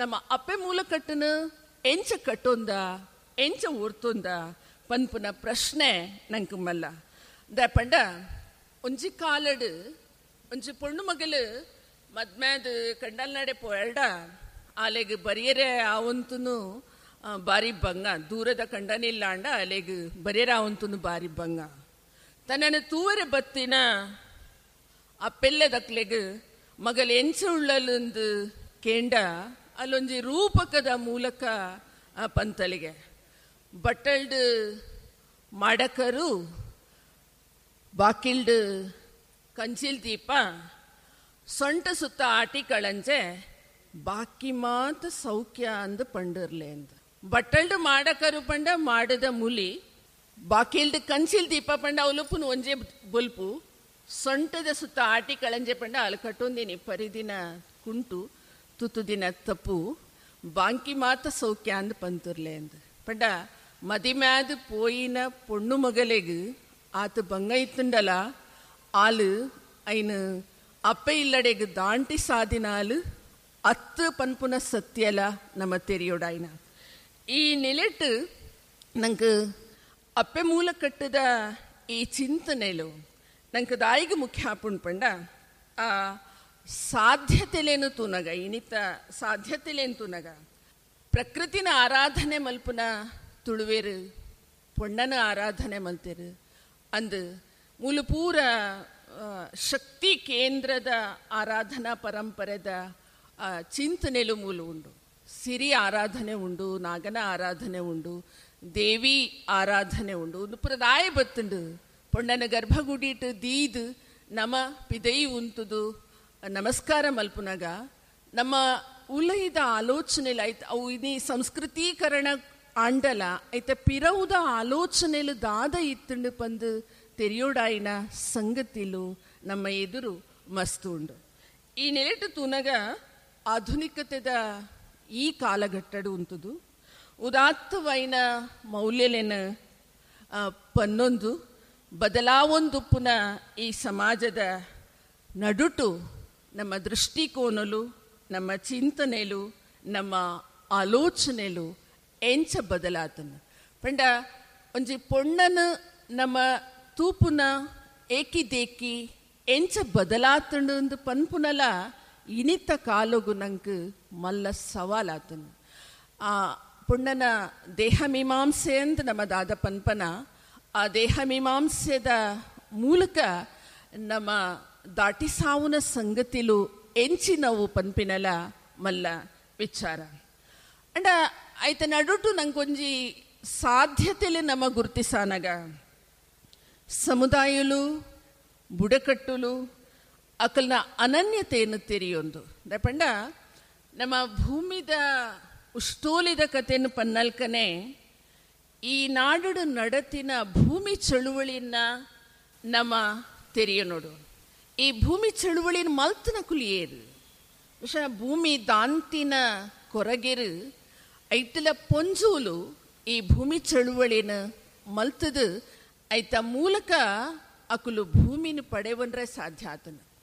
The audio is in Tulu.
ನಮ್ಮ ಅಪ್ಪೆ ಮೂಲಕಟ್ಟನ ಎಂಚ ಕಟ್ಟೊಂದ, ಎಂಚ ಊರ್ತೊಂದ ಪನ್ಪುನ ಪ್ರಶ್ನೆ ನಂಗೆ ಮಲ್ಲ. ಪಂಡ ಒಂಜಿ ಕಾಲಡು ಒಂಜಿ ಪೊಣ್ಣು ಮಗಲು ಮದ್ಮ್ಯಾದ ಕಂಡಲ್ನಾಡೆ ಪೋಯಲ್ಡ ಆಲೆಗ್ ಬರಿಯರೆ ಆವಂತನು ಬಾರಿ ಬಂಗ, ದೂರದ ಕಂಡನಿಲ್ಲ ಅಂಡ ಅಲೆಗ್ ಬರಿಯರೆ ಆವಂತನು ಬಾರಿ ಬಂಗ. ತನ್ನನ್ನು ತೂವರೆ ಬತ್ತಿನ ಅಪ್ಪೆಲ್ಲದಕ್ಲೆಗ್ ಮಗಲ್ ಎಂಚ ಉಳ್ಳಲಂದು ಕೇಂಡ ಅಲ್ಲೊಂಜಿ ರೂಪಕದ ಮೂಲಕ ಪಂತಲಿಗೆ ಬಟ್ಟಲ್ಡು ಮಾಡಕರು ಬಾಕಿಲ್ಡು ಕಂಚಿಲ್ ದೀಪ ಸೊಂಟ ಸುತ್ತ ಆಟಿ ಕಳಂಜೆ ಬಾಕಿ ಮಾತ ಸೌಖ್ಯ ಅಂದು ಪಂಡಿರ್ಲೆ ಅಂದ. ಬಟ್ಟಲ್ಡು ಮಾಡಕರು ಪಂಡ ಮಾಡದ ಮುಲಿ, ಬಾಕಿಲ್ಡು ಕಂಚಿಲ್ ದೀಪ ಪಂಡ ಅವಲುಪುನು ಒಂಜೆ ಬೊಲ್ಪು, ಸೊಂಟದ ಸುತ್ತ ಆಟಿ ಕಳಂಜೆ ಪಂಡ ಅಲ್ಲಿ ಕಟ್ಟೊಂದಿನಿ ಪರಿದಿನ ಕುಂಟು ತುತು ದಿನ ತಪ್ಪು, ಬಾಂಕಿ ಮಾತ ಸೌಖ್ಯ ಅಂದ್ ಪಂತುರ್ಲೆ ಅಂದ. ಪಂಡ ಮದಿಮ್ಯಾದ ಪೋಯಿನ ಪೊಣ್ಣು ಮಗಲೆಗ್ ಆತ ಬಂಗ ಇತ್ತುಂಡಲ ಆಲು ಐನು ಅಪ್ಪೆ ಇಲ್ಲಡೆಗ್ ದಾಂಟಿ ಸಾದಿನಾಲು ಅತ್ತು ಪನ್ಪುನ ಸತ್ಯಲ ನಮ್ಮ ತೆರಿಯೋಡಾಯ್ನ. ಈ ನಿಲೆಟ್ಟು ನಂಗೆ ಅಪ್ಪೆ ಮೂಲ ಕಟ್ಟದ ಈ ಚಿಂತನೆಲು ನಂಗೆ ದಾಯಿಗೆ ಮುಖ್ಯ ಆಪುಂಡು ಪಂಡ ಆ ಸಾಧ್ಯತೆಲೇನು ತೂನಗ, ಇನಿತ ಸಾಧ್ಯತೆಲೇನು ತೂನಗ ಪ್ರಕೃತಿನ ಆರಾಧನೆ ಮಲ್ಪುನ ತುಳುವೇರು ಪೊಣ್ಣನ ಆರಾಧನೆ ಮಲ್ತೇರು ಅಂದು ಮೂಲ ಪೂರ ಶಕ್ತಿ ಕೇಂದ್ರದ ಆರಾಧನಾ ಪರಂಪರೆದ ಚಿಂತನೆಲು ಮೂಲ ಉಂಡು. ಸಿರಿ ಆರಾಧನೆ ಉಂಡು, ನಾಗನ ಆರಾಧನೆ ಉಂಡು, ದೇವಿ ಆರಾಧನೆ ಉಂಡು. ಒಂದು ಪುರದಾಯ ಬತ್ತುಂಡು ಪೊಣ್ಣನ ಗರ್ಭಗುಡಿಟ್ಟು ದೀದ್ ನಮ ಪಿದೈ ಉಂತುದು ನಮಸ್ಕಾರ ಮಲ್ಪುನಗ ನಮ್ಮ ಉಲೈದ ಆಲೋಚನೆಲು ಐತ ಅವು ಇನಿ ಸಂಸ್ಕೃತೀಕರಣ ಆಂಡಲ ಐತ ಪಿರವುದ ಆಲೋಚನೆಲು ದಾದ ಇತ್ತುಂಡು ಪಂದು ತೆರಿಯೋಡಾಯಿನ ಸಂಗತಿಲು ನಮ್ಮ ಎದುರು ಮಸ್ತು ಉಂಡು. ಈ ನೆಲೆಟು ತೂನಗ ಆಧುನಿಕತೆದ ಈ ಕಾಲಘಟ್ಟಡು ಉಂಟುದು ಉದಾತ್ತವೈನ ಮೌಲ್ಯಲೇನ ಪನ್ನೊಂದು ಬದಲಾವೊಂದುಪ್ಪುನ ಈ ಸಮಾಜದ ನಡುಟು ನಮ್ಮ ದೃಷ್ಟಿಕೋನಲು, ನಮ್ಮ ಚಿಂತನೆಲು, ನಮ್ಮ ಆಲೋಚನೆಲು ಎಂಚ ಬದಲಾತನು. ಪಂಡ ಒಂಜಿ ಪೊಣ್ಣನು ನಮ್ಮ ತೂಪುನ ಏಕಿದೇಕಿ ಎಂಚ ಬದಲಾತಂಡು ಅಂದು ಪನ್ಪುನಲ ಇನಿತ ಕಾಲೊಗು ನಂಗೆ ಮಲ್ಲ ಸವಾಲಾತನು. ಆ ಪೊಣ್ಣನ ದೇಹ ಮೀಮಾಂಸೆ ಅಂತ ನಮ್ಮ ದಾದ ಪನ್ಪನ, ಆ ದೇಹ ಮೀಮಾಂಸೆದ ಮೂಲಕ ನಮ್ಮ ದಾಟಿ ಸಾವುನ ಸಂಗತಿಲು ಎಂಚಿನವು ಪನ್ಪಿನಲ ಮಲ್ಲ ವಿಚಾರ. ಅಂಡ ಆಯ್ತ ನಡುಟು ನಂಗೊಂಜಿ ಸಾಧ್ಯತೆಲೆ ನಮ್ಮ ಗುರುತಿಸಾನಗ ಸಮುದಾಯಲು ಬುಡಕಟ್ಟುಲು ಅಕಲ್ನ ಅನನ್ಯತೆಯನ್ನು ತೆರೆಯೊಂದು ಪಂಡ ನಮ್ಮ ಭೂಮಿದ ಉಷ್ಟೋಲಿದ ಕಥೆಯನ್ನು ಪನ್ನಲ್ಕನೆ ಈ ನಾಡು ನಡತಿನ ಭೂಮಿ ಚಳುವಳಿಯನ್ನ ನಮ್ಮ ತೆರೆಯ ನೋಡು. ಈ ಭೂಮಿ ಚಳುವಳಿನ ಮಲ್ತನ ಕುಲಿಯೇರು ಭೂಮಿ ದಾಂತಿನ ಕೊರಗೆರು ಐತಲ ಪೊಂಜೂಲು ಈ ಭೂಮಿ ಚಳುವಳಿನ ಮಲ್ತದು ಐತ ಮೂಲಕ ಅಕುಲು ಭೂಮಿನ ಪಡೆವನ್ರೆ ಸಾಧ್ಯ ಆತನು.